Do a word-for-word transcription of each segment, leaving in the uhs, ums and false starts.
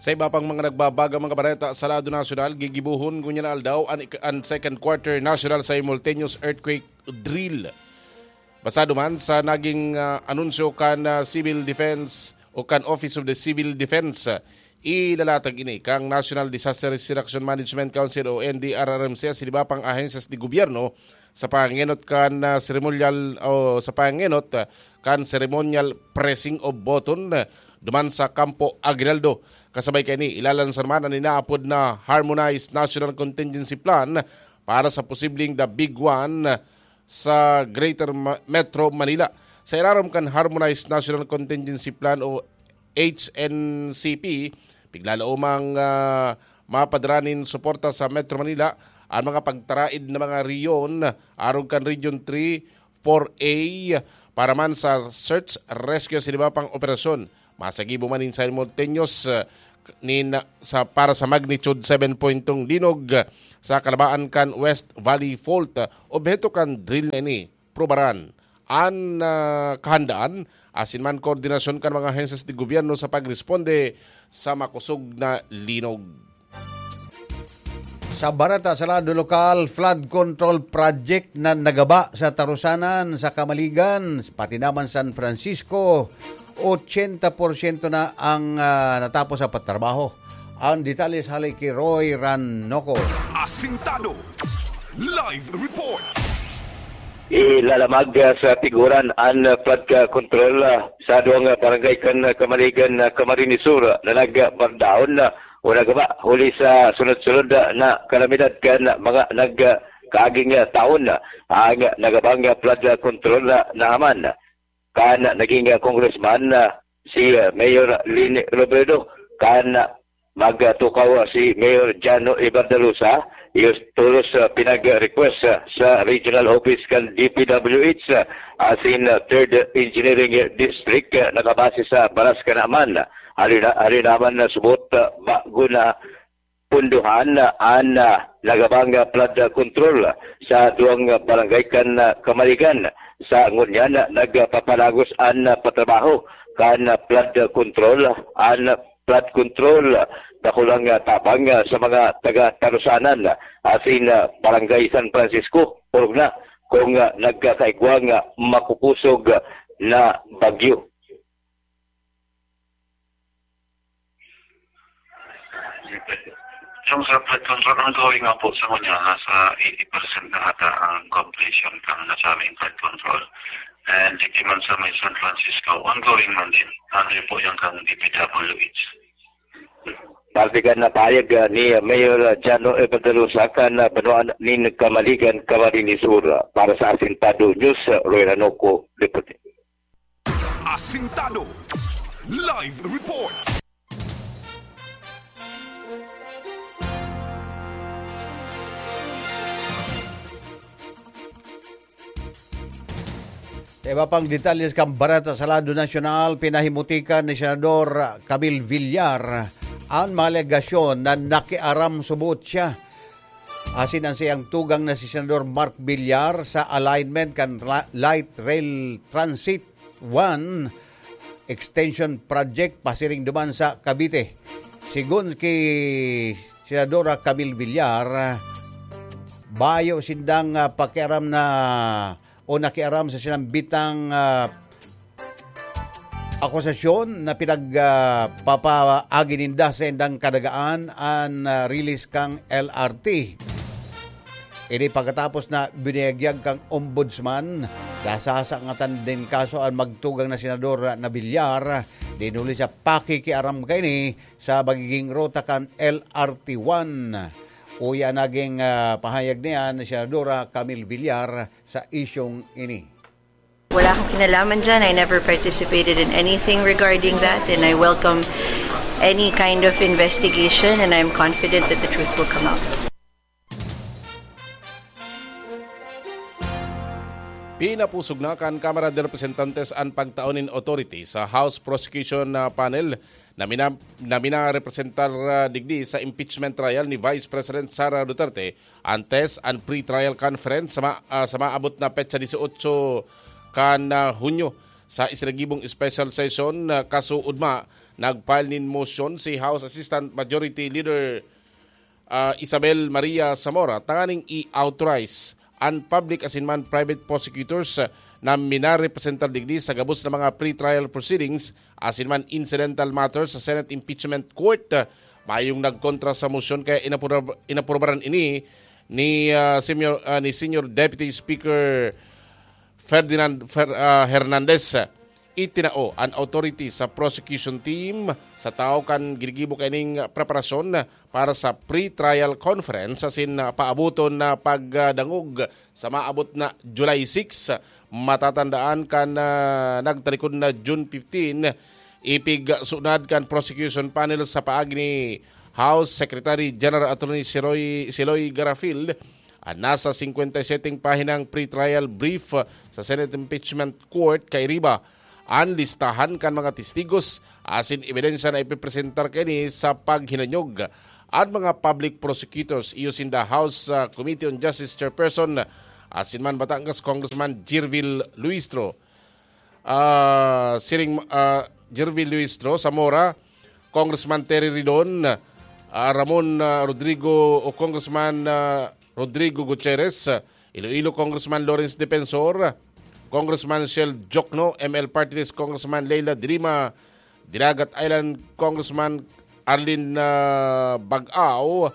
Sa iba pang mga nagbabagang mga bareta sa lado nasyonal, gigibohon ngunyan na aldaw an ik-, an second quarter national simultaneous earthquake drill. Basado man sa naging, ah, anunsyo kan, ah, Civil Defense o kan Office of the Civil Defense, ah, ilalatag ini kan National Disaster Risk Reduction Management Council o N D R R M C, sa iba pang ahensyas de gobyerno sa pangenot kan, ah, seremonyal o sa pangenot, ah, kan ceremonial pressing of button, ah, duman sa Kampo Aguinaldo. Kasabay kaini, ilalansar man an inaapod na Harmonized National Contingency Plan para sa posibleng The Big One, ah, sa Greater Ma-, Metro Manila. Sa irarom kan Harmonized National Contingency Plan o H N C P, piglalaomang, ah, mapadara nin suporta sa Metro Manila an mga pagtaraid na mga rehiyon, arog kan Region three, four A, para man sa search, rescue sa iba pang operasyon. Masagibo man nin simultaneous, ah, nin, sa, para sa magnitude seven point two linog, ah, sa kalabaan kan West Valley Fault. Obheto kan drill na ini, prubaran an, ah, kahandaan asin man koordinasyon kan mga ahensyas de gobyerno sa pagresponde sa makosog na linog. Sa bareta sa lado lokal, flood control project na nagaba sa Tarusanan, sa Kamaligan, pati naman San Francisco, ochenta porsyento na ang, ah, natapos sa pagtrabaho. Ang detalye hale ki Roy Ranoco. Asintado. Live report. Ilalamag, ah, sa tiguran an flood, ah, control, ah, sa duwang, ah, barangay kan, ah, Kamaligan, ah, Camarines Sur, ah, na nagbardaon, ah, o nagaba huli sa sunod-sunod, ah, na kalamidad kan mga nag, ah, kaaging, ah, taon. Ang nagabang, ah, flood, ah, control, ah, naman kan naging, ah, congressman, ah, si, ah, Mayor Leni Robredo, kan, ah, magtukaw, ah, si Mayor Jano Ebardalusa, iyo tolos, ah, pinag-request, ah, sa regional office kan D P W H, ah, asin, ah, Third Engineering District, ah, nakabase sa baras kanaman. Ari na, ari naman na subot, ah, bago na punduhan, ah, an, ah, nagabang, ah, flood, ah, control sa duwang, ah, barangay kan, ah, Kamaligan. Sa ngunyan, ah, nagpapalagos an, ah, patrabaho kan, ah, flood, ah, control, an, ah, flood control, ah, dakulang, ah, tabang, ah, sa mga taga Tarusanan, ah, asin, ah, Barangay San Francisco, orog na kung, ah, nagkakaigwang, ah, makukosog, ah, na bagyo. Yung sa flood control, ongoing nga po sa ngunyan, nasa eighty percent na ata ang completion kan nasabing flood control. And dito man sa may San Francisco, ongoing man din. Ano yun po yung kang D P W H? Parte kan napahayag, ah, ni Mayor, ah, Jano Evangelosa kan, ah, banwaan nin Kamaligan, Camarines Sur. Para sa Asintado News, ah, Roy Ranoco, report. Asintado. Live report. Sa iba pang detalye kan bareta sa lado nasyonal, pinahimutikan ni Senador Camille Villar an mga alegasyon na nakiaram subot siya asin an saiyang tugang na si Senador Mark Villar sa alignment kan ra-, light rail transit one extension project pasiring duman sa Cavite. Sigon ki Senadora Camille Villar, bayo sindang, ah, pakiaram na o nakiaram sa sinambitang, ah, akusasyon na pinag, ah, papaagi ninda sa indang kadagaan an, ah, release kan L R T. Ini pagkatapos na biniyagyag kan Ombudsman, nasasangatan nin kaso an magtugang na senador na Villar, dinuli sa pakikiaram kaini sa magiging ruta kan L R T one. Uya naging, ah, pahayag niya ni Senadora Camille Villar sa isyung ini. Wala akong kinalaman dyan. I never participated in anything regarding that, and I welcome any kind of investigation, and I'm confident that the truth will come out. Pinapusog na kan Kamara de Representantes an pagtao nin authority sa House Prosecution, ah, Panel na mina-, na minarepresentar, ah, digdi sa impeachment trial ni Vice President Sara Duterte, antes an pre-trial conference sa ma-, ah, sa maabot na petsa dieciocho kan, ah, Hunyo. Sa isinagibong special session, ah, kasuodma Nag-file nin motion si House Assistant Majority Leader, ah, Isabel Maria Zamora tanganing i-authorize an public asin man private prosecutors na minarepresentar digdi sa gabos na mga pre-trial proceedings asin man incidental matters sa Senate Impeachment Court. Mayong nagkontra sa motion kaya inapura-, inaprubaran ini ni, ah, Senior, ah, ni Senior Deputy Speaker Ferdinand Fer-, ah, Hernandez. Itinao an authority sa prosecution team sa tawo kan ginigibo kaining preparasyon para sa pre-trial conference asin paaboton na pagdangog sa maabot na July six. Matatandaan kan, ah, nagtalikod na June fifteen, ipigsunad kan prosecution panel sa paagi ni House Secretary General Attorney Siroy, Siloy Garafil an nasa singkwenta y seteng pahinang pre-trial brief sa Senate Impeachment Court kairiba an listahan kan mga testigos asin ebidensya na ipipresentar kaini sa paghinanyog. An mga public prosecutors iyo sinda House, ah, Committee on Justice Chairperson asin man Batangas Congressman Jirvil Luistro, ah, siring, ah, Jirvil Luistro, Zamora, Congressman Terry Ridon, ah, Ramon, ah, Rodrigo o Congressman, ah, Rodrigo Gutierrez, Iloilo Congressman Lawrence Defensor, Congressman Shell Jokno, M L Party List Congressman Leila de Lima, Dinagat Island Congressman Arlene, ah, Bag-aw,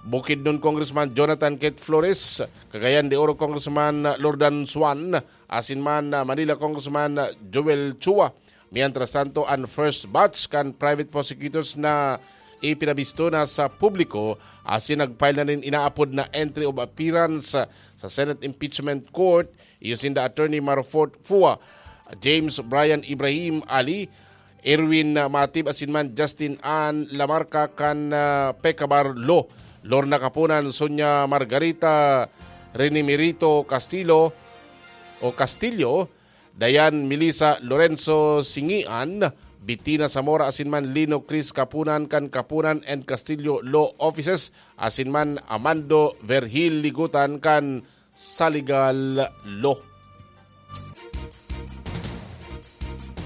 Bukidnon Congressman Jonathan Kate Flores, Cagayan de Oro Congressman Lordan Suan, asin man, ah, Manila Congressman Joel Chua. Mientras tanto, an first batch kan private prosecutors na ipinabisto na sa publiko asin nag-file na nin inaapod na entry of appearance sa Senate Impeachment Court, iyo sinda Attorney Marfort Fua, James Brian Ibrahim Ali, Erwin Matib asin man Justin Ann Lamarca kan, ah, Pecabar Law, Lorna Kapunan, Sonia Margarita, Rene Merito Castillo o Castillo, Dayan Melissa Lorenzo Singian, Bettina Zamora asin man Lino Chris Kapunan kan Kapunan and Castillo Law Offices asin man Amando Vergil Ligutan kan Saligal Law.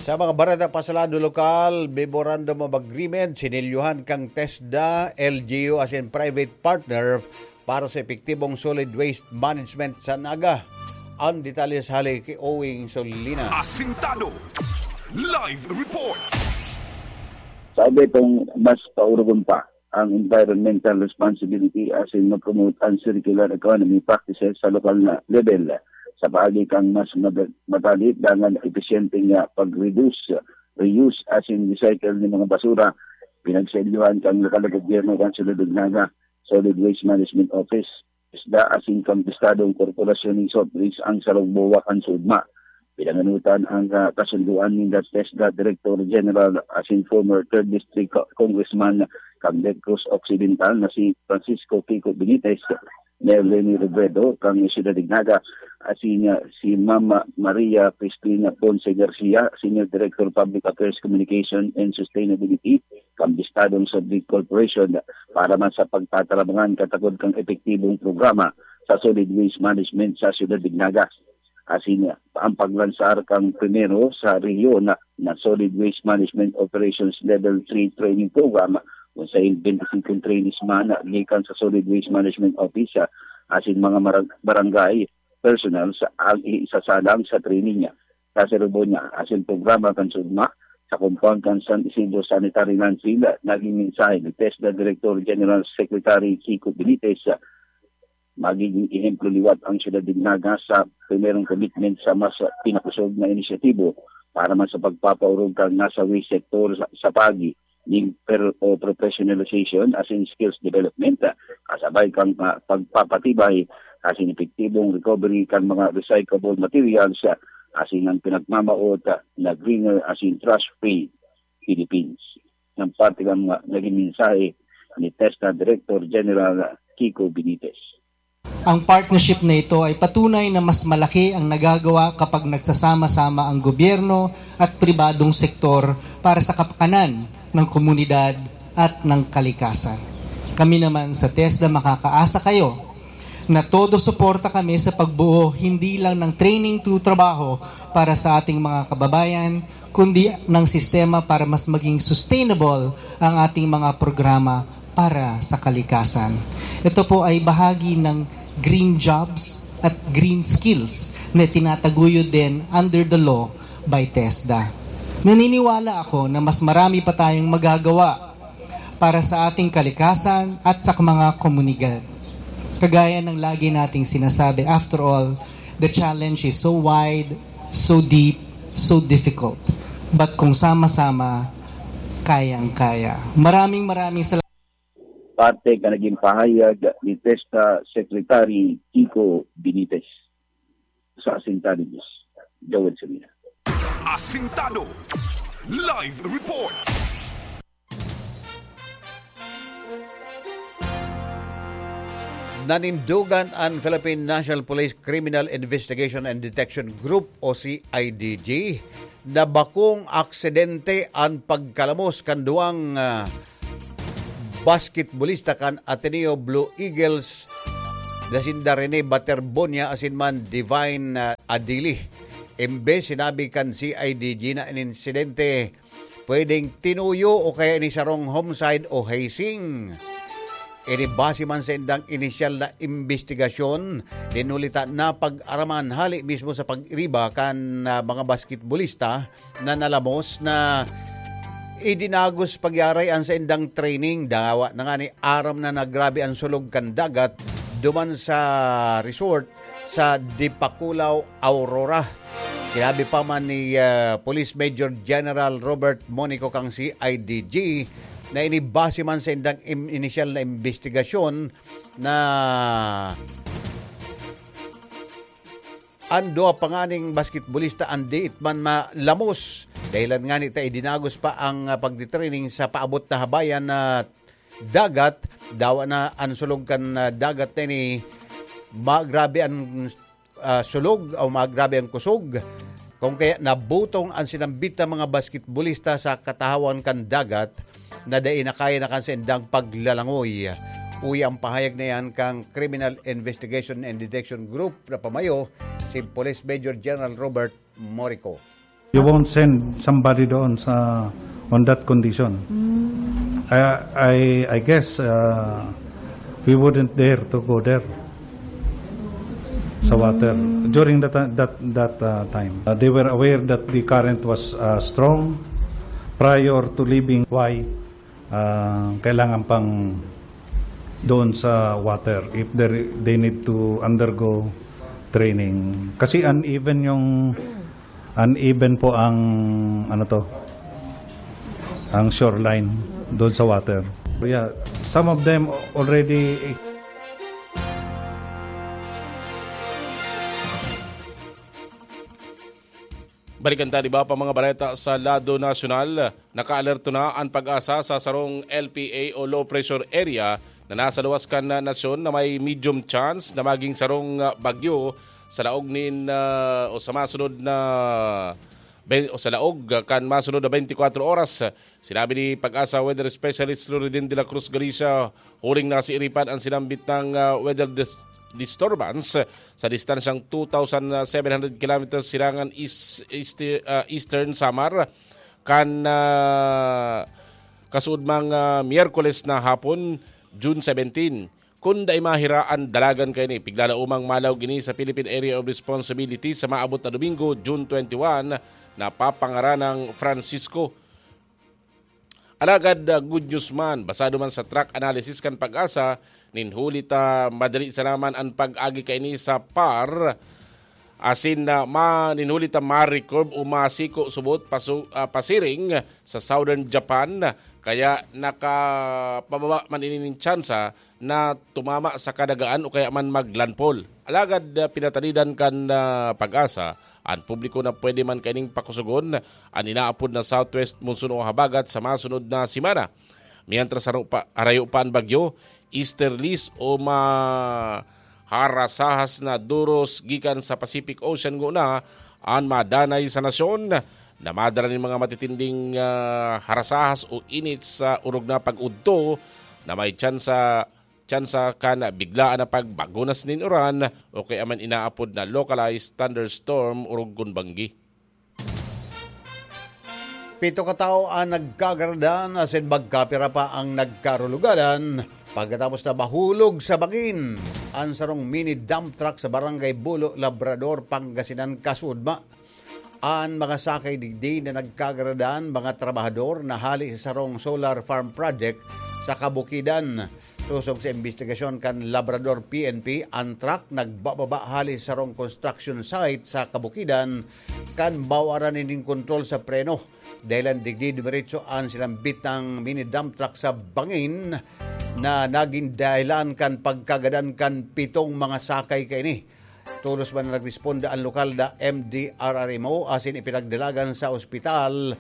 Sa mga bareta pa sa lado lokal, Memorandum of Agreement, sinilyohan kan TESDA, L G U asin private partner para sa epektibong solid waste management sa Naga. Ang detalye sa hali ki Owing Solina. Asintado. Live report. Sabi kung mas paurugon pa ang environmental responsibility asin ma-promote ang circular economy practices sa lokal na level. Sa paagi kang mas mad-, madali dangan episyente nga pag-reduce, reuse asin recycle nin mga basura, pinagsailyuhan kang lokal na gobyerno kan Syudad nin Naga, Solid Waste Management Office, TESDA asin kang Estadong Korporasyon nin South Bridge ang sarong buwa kan SODMA. Pinanganotan ang, ah, kasundoan ninda TESDA Director General asin former Third District Co-, Congressman kan De La Cruz Occidental na si Francisco Kiko Benitez, Mayor Leni Robredo kan Syudad nin Naga, asin, ah, si Mama Maria Cristina Ponce Garcia, Senior Director Public Affairs, Communication and Sustainability kan Estadong South Bridge Corporation para man sa pagtatarabangan katakod kan epektibong programa sa solid waste management sa Syudad nin Naga. Asin ang paglansar kan primero sa rehiyon na, na Solid Waste Management Operations Level three Training Program, kung sain twenty-five trainees man gikan sa Solid Waste Management Office, ah, asin mga marag-, barangay personnel sa ang isasalang sa training niya sa seremonya asin programa kan SODMA sa compound kan San Isidro Sanitary Landfill. Naging mensahe ni TESDA Director General Secretary Kiko Benitez, ah, magiging ehemplo liwat ang Syudad nin Naga sa primerong commitment sa mas pinakusog na inisyatibo para man sa pagpapaurog kan nasa waste sector sa, sa paagi nin per-, o professionalization asin skills development, kasabay kan, ah, pagpapatibay asin epektibong recovery kan mga recyclable materials, ah, asin ang pinagmamao na greener asin trash-free Philippines. Ng parte kan mga naging mensahe ni TESDA Director General Kiko Benitez. Ang partnership na ito ay patunay na mas malaki ang nagagawa kapag nagsasama-sama ang gobyerno at pribadong sektor para sa kapakanan ng komunidad at ng kalikasan. Kami naman sa TESDA makakaasa kayo na todo suporta kami sa pagbuo hindi lang ng training to trabaho para sa ating mga kababayan, kundi ng sistema para mas maging sustainable ang ating mga programa para sa kalikasan. Ito po ay bahagi ng green jobs at green skills na tinataguyod din under the law by TESDA. Naniniwala ako na mas marami pa tayong magagawa para sa ating kalikasan at sa mga komunidad. Kagaya ng lagi nating sinasabi, after all, the challenge is so wide, so deep, so difficult. But kung sama-sama, kayang-kaya. Maraming maraming salamat. Parte ka naging pahayag ni TESDA Secretary Kiko Benitez. Sa Asintado News, Joel Serena. Asintado Live Report. Nanindogan an Philippine National Police Criminal Investigation and Detection Group o C I D G na bakong aksidente an pagkalamos kan duwang ah, basketbolista kan Ateneo Blue Eagles na sinda Rene Baterbonia asin man Divine ah, Adili. Imbes sinabi kan C I D G na an insidente pwedeng tinuyo o kaya ini sarong homicide o hazing. Ini base man sa indang inisyal na imbestigasyon, dinulita na pag-araman hali mismo sa pag-iriba kan ah, mga basketbolista na nalamos na idinagos pagyaray an sa indang training. Dawa na nga ni aram na nagrabe ang sulog kan dagat duman sa resort sa Dipakulaw, Aurora. Sinabi pa man ni ah, Police Major General Robert Monico kang C I D G na inibase man sa indang im- inisyal na imbestigasyon na an duwa pa nganing basketbolista an diit man malamos. Dahilan ngani ta idinagos pa ang ah, pagtitraining sa paabot na habayan na dagat. Dawa na an sulog kan ah, dagat na ini, magrabe an ah, sulog o magrabe an kusog. Kung kaya nabutong an sinambit na mga basketbolista sa katahawan kan dagat na dai na kaya na kan saindang paglalangoy. Uya ang pahayag na yan kang Criminal Investigation and Detection Group na pamayo, si Police Major General Robert Morico. You won't send somebody doon sa on that condition. I, I, I guess uh, we wouldn't dare to go there sa water during that that that uh, time. Uh, they were aware that the current was uh, strong prior to leaving. Why uh, kailangan pang doon sa water if they, they need to undergo training? Kasi uneven yung uneven po ang ano to, ang shoreline doon sa water. Yeah, some of them already. Balikan ta, di ba, pa mga baleta sa lado nasyonal. Nakaalerto na an PAGASA sa sarong L P A o low pressure area na nasa luwas kan nasyon na may medium chance na maging sarong ah, bagyo sa laog nin ah, o sa masunod na ben- o sa laog kan masunod na twenty-four oras. Sinabi ni PAGASA Weather Specialist Loridin de la Cruz Galicia, huring nasiiripan an sinambit na ah, weather dis- disturbance sa distansyang two thousand seven hundred kilometers silangan is, is, ah, Eastern Samar kan ah, kasuodmang ah, Miyerkules na hapon, June seventeen. Kun dai mahira an dalagan kaini, pigla na umang malaog ini sa Philippine Area of Responsibility sa maabot na Domingo, June twenty-one, na papangaranang Francisco. Alagad ah, good news man, basado man sa track analysis kan PAGASA, nin huli ta madali sana man an pag-agi kaini sa par, asin na ma, nin huli ta ma-recurve o masiko subot pasu, ah, pasiring sa southern Japan, kaya nakapababa man ini nin tsansa na tumama sa kadagaan o kaya man maglandfall. Alagad ah, pinatanidan kan ah, PAGASA an publiko na pwede man kaining pakusugon an inaapod na southwest monsoon o habagat sa masunod na semana. Mientras haro pa, harayo pa an bagyo, easterlies o maharasahas na duros gikan sa Pacific Ocean nguna an madanay sa nasyon na madara nin mga matitinding ah, harasahas o init sa orog na pag-udto na may tsansa tsansa kan biglaan na pagbagunas nin uran o kaya man inaapod na localized thunderstorm orog kun banggi. Pito ka tawo ang nagkagaradan asin magkapira pa ang nagkarulugadan pagkatapos na mahulog sa bangin an sarong mini dump truck sa Barangay Bulo, Labrador, Pangasinan, kasudma. An mga sakay digdi na nagkagaradan, mga trabahador na hali sa sarong solar farm project sa Kabukidan. Sosog sa imbestigasyon kan Labrador P N P, an truck nagbababa hali sa sarong construction site sa Kabukidan kan mawaran nin kontrol sa preno. Dahilan digdi dumiretso an sinambit na mini dump truck sa bangin na nagin dahilan kan pagkagadan kan pitong mga sakay kaini. Tolos man na nagresponde an lokal na M D R R M O asin ipinagdalagan sa ospital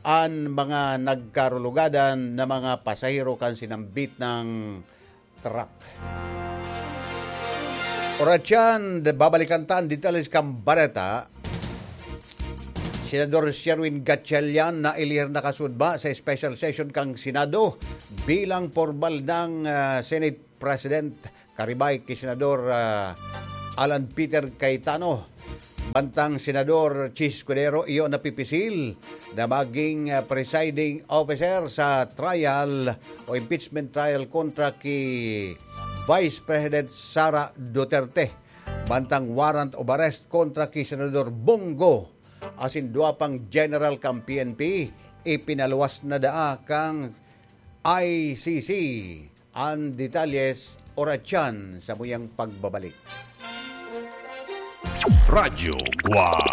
an mga nagkarulugadan na mga pasahero kan sinambit na truck. Oras yan, babalikan ta an detalye kan bareta. Senador Sherwin Gatchalian naelir na kasudma sa special session kan Senado bilang pormal na, ah, Senate President, karibay ki Senador, ah, Alan Peter Cayetano. Mantang Senador Chiz Escudero iyo napipisil na maging, ah, presiding officer sa trial o impeachment trial kontra ki Vice President Sara Duterte. Mantang warrant of arrest kontra ki Senador Bong Go asin duwa pang general kan P N P, ipinaluwas na daa kan I C C. An detalye oras yan sa muyang pagbabalik. Radyo Guwang.